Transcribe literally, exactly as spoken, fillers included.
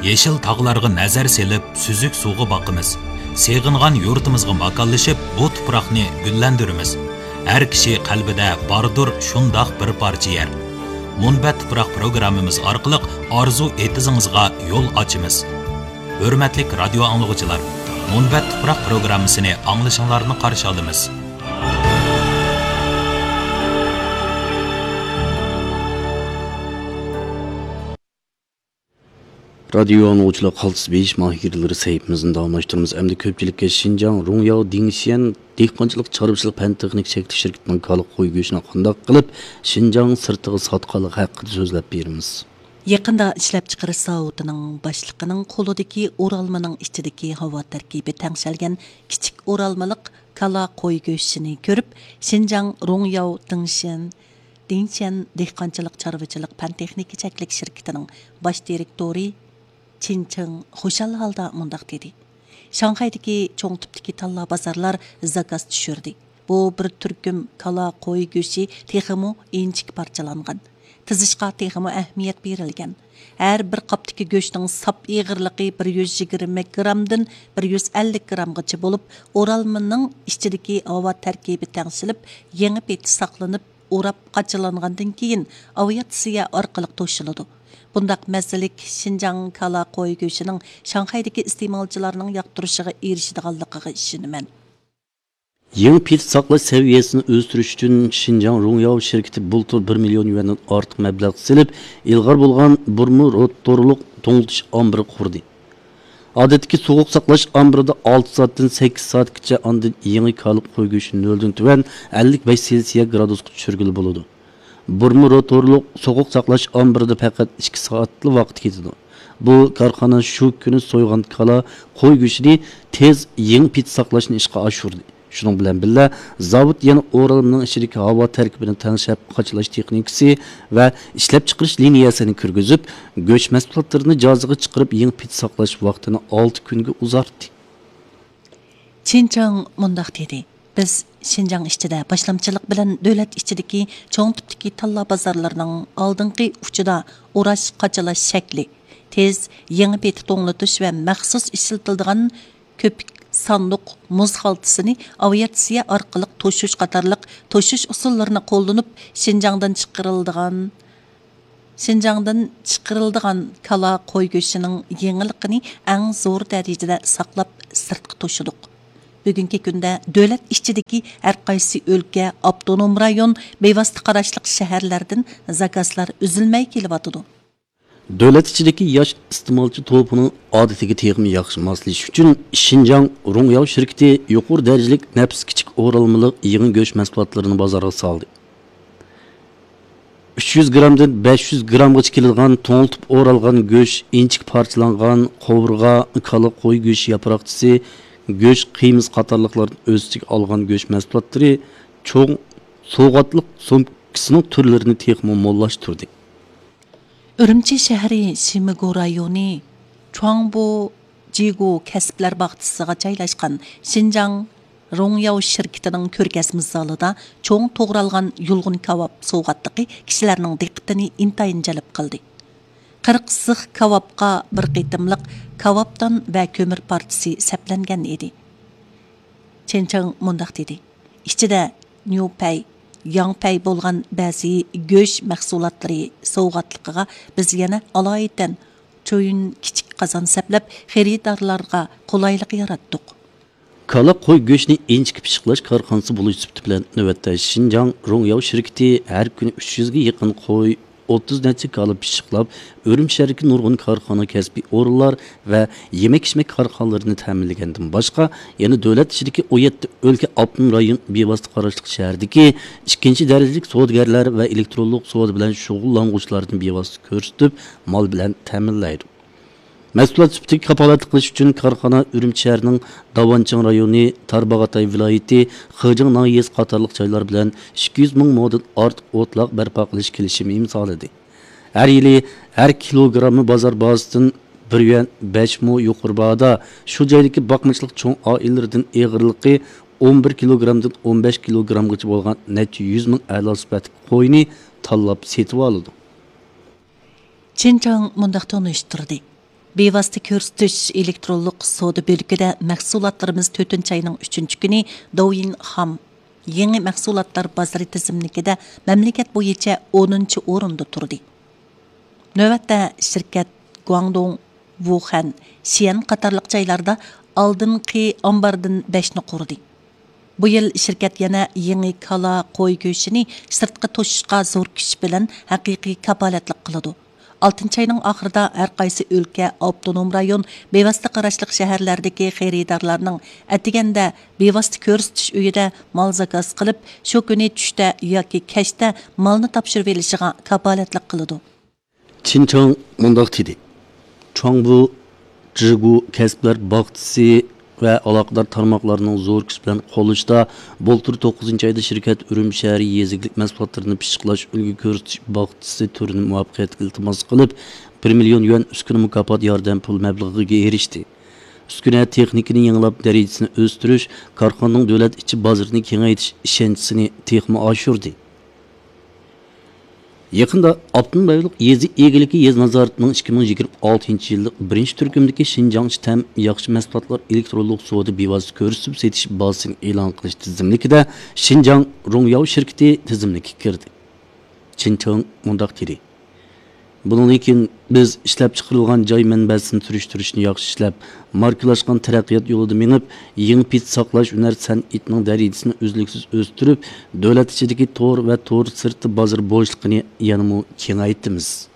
يېشىل تاغلارغا نەزەر سېلىپ، سۈزۈك سۇغا باقىمىز. سېغىنغان يۇرتىمىزغا ماكانلىشىپ، بۇ تۇپراقنى گۈللەندۈرىمىز. ھەر كىشى قەلبىدە باردۇر شۇنداق بىر پارچە يەر. مۇنبەت تۇپراق پروگراممىمىز ئارقىلىق ئارزۇ ئېتىزىڭىزغا يول ئاچىمىز. ھۆرمەتلىك رادىيو ئاڭلىغۇچىلار، مۇنبەت تۇپراق پروگراممىسىنى ئاڭلىشىڭلارنى قارشى ئالىمىز. رادىيو ئاڭلىغۇچىلار، قالتىس بېيىش ماھىرلىرى سەھىپىمىزنى داۋاملاشتۇرىمىز. ئەمدى كۆپچىلىككە شىنجاڭ رۇڭياۋ دىڭشيەن دېھقانچىلىق چارۋىچىلىق پەن تېخنىك چەكلىك شىركىتىنىڭ كالا قوي گۆشىنى قانداق قىلىپ شىنجاڭ سىرتىغا ساتقانلىقى ھەققىدە سۆزلەپ بېرىمىز. يېقىندا ئىشلەپچىقىرىش زاۋۇتىنىڭ باشلىقىنىڭ قولىدىكى ئورالمىنىڭ ئىچىدىكى ھاۋا تەركىبى تەڭشەلگەن كىچىك ئورالمىلىق كالا قوي گۆشىنى كۆرۈپ، شىنجاڭ رۇڭياۋ دىڭشيەن دىڭشيەن دېھقانچىلىق چارۋىچىلىق پەن تېخنىكا چەكلىك شىركىتىنىڭ باش دىرېكتورى چىن چىڭ خۇشال ھالدا مۇنداق دېدى: شاڭخەيدىكى چوڭ تىپتىكى تاللا بازارلار زاكاز چۈشۈردى. بۇ بىر تۈركۈم كالا، قوي گۆشى تېخىمۇ ئىنچىكە پارچىلانغان، تىزىشقا تېخىمۇ ئەھمىيەت بېرىلگەن. ھەر بىر قاپتىكى گۆشنىڭ ساپ ئېغىرلىقى بىر يۈز يىگىرمە گرامدىن بىر يۈز ئەللىك گرامغىچە بولۇپ، ئورالمىنىڭ ئىچىدىكى ھاۋا تەركىبى تەڭشىلىپ، يېڭى پېتى ساقلىنىپ، ئوراپ قاچىلانغاندىن كېيىن ئاۋىئاتسىيە ئارقىلىق توشۇلىدۇ. بۇنداق مەززىلىك شىنجاڭ كالا قوي گۆشىنىڭ شاڭخەيدىكى ئىستېمالچىلارنىڭ ياقتۇرۇشىغا ئېرىشىدىغانلىقىغا ئىشىنىمەن. يېڭى پېتى ساقلاش سەۋىيەسىنى ئۆستۈرۈش ئۈچۈن شىنجاڭ رۇڭياۋ شىركىتى بۇلتۇر بىر مىليون يۈەندىن ئارتۇق مەبلەغ سېلىپ، ئىلغار بولغان بۇرما روتورلۇق توڭلىتىش ئامبىرى قۇردى. ئادەتتىكى سوغۇق ساقلاش ئامبىرىدا ئالتە سائەتتىن سەككىز سائەتكىچە، ئاندىن يېڭى كالا قوي گۆشىنى نۆلدىن تۆۋەن ئەللىك بەش سېلسىيە گرادۇسقا چۈشۈرگىلى بولىدۇ. بۇرما روتورلۇق سوغۇق ساقلاش ئامبىرىدا پەقەت ئىككى سائەتلا ۋاقىت كېتىدۇ. بۇ كارخانا شۇ كۈنى سويغان كالا، قوي گۆشىنى تېز يېڭى پېتى ساقلاشنى ئىشقا ئاشۇردى. شۇنىڭ بىلەن بىللە، زاۋۇت يەنە ئورالمىنىڭ ئىچىدىكى ھاۋا تەركىبىنى تەڭشەپ قاچىلاش تېخنىكىسى ۋە ئىشلەپچىقىرىش لىنىيەسىنى كىرگۈزۈپ، گۆش مەھسۇلاتلىرىنى جازىغا چىقىرىپ، يېڭى پېتى ساقلاش ۋاقتىنى ئالتە كۈنگە ئۇزارتتى. چىن چىڭ مۇنداق دېدى: بىز شىنجاڭ ئىچىدە باشلامچىلىق بىلەن دۆلەت ئىچىدىكى چوڭ تىپتىكى تاللا بازارلىرىنىڭ ئالدىنقى ئۇچىدا ئوراش، قاچىلاش شەكلى، تېز، يېڭى پېتى توڭلىتىش ۋە مەخسۇس ئىشلىتىلىدىغان كۆپۈك ساندۇق، مۇز خالتىسىنى ئاۋىئاتسىيە ئارقىلىق توشۇش قاتارلىق توشۇش ئۇسۇللىرىنى قوللىنىپ، شىنجاڭدىن چىقىرىلىدىغان، شىنجاڭدىن چىقىرىلىدىغان كالا، قوي گۆشىنىڭ يېڭىلىقىنى ئەڭ زور دەرىجىدە ساقلاپ، سىرتقا توشىدۇق. بۈگۈنكى كۈندە دۆلەت ئىچىدىكى ھەر قايسى ئۆلكە، ئاپتونوم رايون، بىۋاسىتە قاراشلىق شەھەرلەردىن زاكازلار ئۈزۈلمەي كېلىۋاتىدۇ. دۆلەت ئىچىدىكى ياش ئىستېمالچى توپىنىڭ ئادىتىگە تېخىمۇ ياخشى ماسلىشىش ئۈچۈن، شىنجاڭ رۇڭياۋ شىركىتى يۇقىرى دەرىجىلىك نەپىس كىچىك ئورالمىلىق يېڭى گۆش مەھسۇلاتلىرىنى بازارغا سالدى. ئۈچ يۈز گرامدىن بەش يۈز گرامغىچە كېلىدىغان توڭلىتىپ ئورالغان گۆش، ئىنچىكە پارچىلانغان قوۋۇرغا، كالا، قوي گۆشى ياپراقچىسى، گۆش قىيمىسى قاتارلىقلارنى ئۆز ئىچىگە ئالغان گۆش مەھسۇلاتلىرى چوڭ سوۋغاتلىق سومكىسىنىڭ تۈرلىرىنى تېخىمۇ موللاشتۇردى. ئۈرۈمچى شەھىرى شىمىگۇ رايونى چۇاڭبۇ جىگۇ كەسىپلەر باغچىسىغا جايلاشقان شىنجاڭ رۇڭياۋ شىركىتىنىڭ كۆرگەزمە زالىدا چوڭ توغرالغان يۇلغۇن كاۋاپ سوۋغاتلىقى كىشىلەرنىڭ دىققىتىنى ئىنتايىن جەلپ قىلدى. قىرىق زىخ كاۋاپقا بىر قېتىملىق كاۋاپتان ۋە كۆمۈر پارچىسى سەپلەنگەن ئىدى. چېن چىڭ مۇنداق دېدى: ئىچىدە نيۇپەي، ياڭپەي بولغان بەزى گۆش مەھسۇلاتلىرى سوۋغاتلىقىغا بىز يەنە ئالايىتەن چويۈن كىچىك قازان سەپلەپ، خېرىدارلارغا قولايلىق ياراتتۇق. كالا، قوي گۆشىنى ئىنچىكە پىششىقلاش كارخانىسى بولۇش سۈپىتى بىلەن، نۆۋەتتە شىنجاڭ رۇڭياۋ شىركىتى ھەر كۈنى ئۈچ يۈزگە يېقىن قوي، ئوتتۇز نەچچە كالا پىششىقلاپ، ئۈرۈمچى شەھىرىدىكى نۇرغۇن كارخانا، كەسپىي ئورۇنلار ۋە يېمەك-ئىچمەك كارخانىلىرىنى تەمىنلىگەندىن باشقا، يەنە دۆلەت ئىچىدىكى ئون يەتتە ئۆلكە، ئاپتونوم رايون بىۋاسىتە قاراشلىق شەھەردىكى ئىككىنچى دەرىجىلىك سودىگەرلەر ۋە ئېلېكترونلۇق سودا بىلەن شۇغۇللانغۇچىلارنى بىۋاسىتە كۆرسىتىپ، مال بىلەن تەمىنلەيدۇ. مەھسۇلات سۈپىتىگە كاپالەتلىك قىلىش ئۈچۈن كارخانا ئۈرۈمچى شەھىرىنىڭ داۋانچىڭ رايونى، تارباغاتاي ۋىلايىتى، خېجىڭ ناھىيەسى قاتارلىق جايلار بىلەن ئىككى يۈز مىڭ مودىن ئارتۇق ئوتلاق بەرپا قىلىش كېلىشىمى ئىمزالىدى. ھەر يىلى ھەر كىلوگراممى بازار باھاسىدىن بىر يۈەن بەش مو يۇقىرى باھادا شۇ جايدىكى باقمىچىلىق چوڭ ئائىلىلىرىدىن ئېغىرلىقى ئون بىر كىلوگرامدىن ئون بەش كىلوگرامغىچە بولغان نەچچە يۈز مىڭ ئەلا سۈپەتلىك قوينى تاللاپ سېتىۋالىدۇ. چېن چىڭ مۇنداق تونۇشتۇردى: بىۋاسىتە كۆرسىتىش ئېلېكترونلۇق سودا بۆلىكىدە مەھسۇلاتلىرىمىز تۆتىنچى ئاينىڭ ئۈچىنچى كۈنى دوۋيىن خام يېڭى مەھسۇلاتلار بازىرى تىزىملىكىدە مەملىكەت بويىچە ئونىنچى ئورۇندا تۇردى. نۆۋەتتە شىركەت گۇاڭدۇڭ، ۋۇخەن، شىئەن قاتارلىق جايلاردا ئالدىنقى ئامباردىن بەشنى قۇردى. بۇ يىل شىركەت يەنە يېڭى كالا، قوي گۆشىنى سىرتقا توشۇشقا زور كۈچ بىلەن ھەقىقىي كاپالەتلىك قىلىدۇ. ئالتىنچى ئاينىڭ ئاخىرىدا ھەر قايسى ئۆلكە، ئاپتونوم رايون، بىۋاسىتە قاراشلىق شەھەرلەردىكى خېرىدارلارنىڭ ئەتىگەندە بىۋاسىتە كۆرسىتىش ئۆيىدە مال زاكاز قىلىپ، شۇ كۈنى چۈشتە ياكى كەچتە مالنى تاپشۇرۇۋېلىشىغا كاپالەتلىك قىلىدۇ. چىن چاڭ مۇنداق دېدى: چۇاڭبۇ، جىگۇ كەسىپلەر باغچىسى ۋە ئالاقىدار تارماقلارنىڭ زور كۈچ بىلەن قوللىشىدا، بۇلتۇر توققۇزىنچى ئايدا شىركەت ئۈرۈمچى شەھىرى يېزا ئىگىلىك مەھسۇلاتلىرىنى پىششىقلاش ئۈلگە كۆرسىتىش باغچىسى تۈرىنى مۇۋەپپەقىيەتلىك ئىلتىماس قىلىپ، بىر مىليون يۈەن ئۈسكۈنە مۇكاپات ياردەم پۇل مەبلىغىگە ئېرىشتى. ئۈسكۈنە تېخنىكىنى يېڭىلاپ، دەرىجىسىنى ئۆستۈرۈش، كارخانىنىڭ دۆلەت ئىچى بازىرىنى كېڭەيتىش ئىشەنچىسىنى تېخىمۇ ئاشۇردى. يېقىندا ئاپتونوم رايونلۇق يېزا ئىگىلىكى يېزا نازارىتىنىڭ ئىككى مىڭ يىگىرمە ئالتىنچى يىللىق بىرىنچى تۈركۈمدىكى شىنجاڭ تەم ياخشى مەھسۇلاتلار ئېلېكترونلۇق سودا بىۋاسىتە كۆرسىتىپ سېتىش بازىسىنى ئېلان قىلىش تىزىملىكىدە شىنجاڭ رۇڭياۋ شىركىتى تىزىملىككە كىردى. چىن چېڭ مۇنداق دېدى: بۇنىڭدىن كېيىن بىز ئىشلەپچىقىرىلغان جاي مەنبەسىنى سۈرۈشتۈرۈشنى ياخشى ئىشلەپ، ماركىلاشقان تەرەققىيات يولىدا مېڭىپ، يېڭى پېتى ساقلاش ھۈنەر سەنئىتىنىڭ دەرىجىسىنى ئۈزلۈكسىز ئۆستۈرۈپ، دۆلەت ئىچىدىكى تور ۋە تور سىرتى بازىرى بوشلۇقىنى يەنىمۇ كېڭەيتىمىز.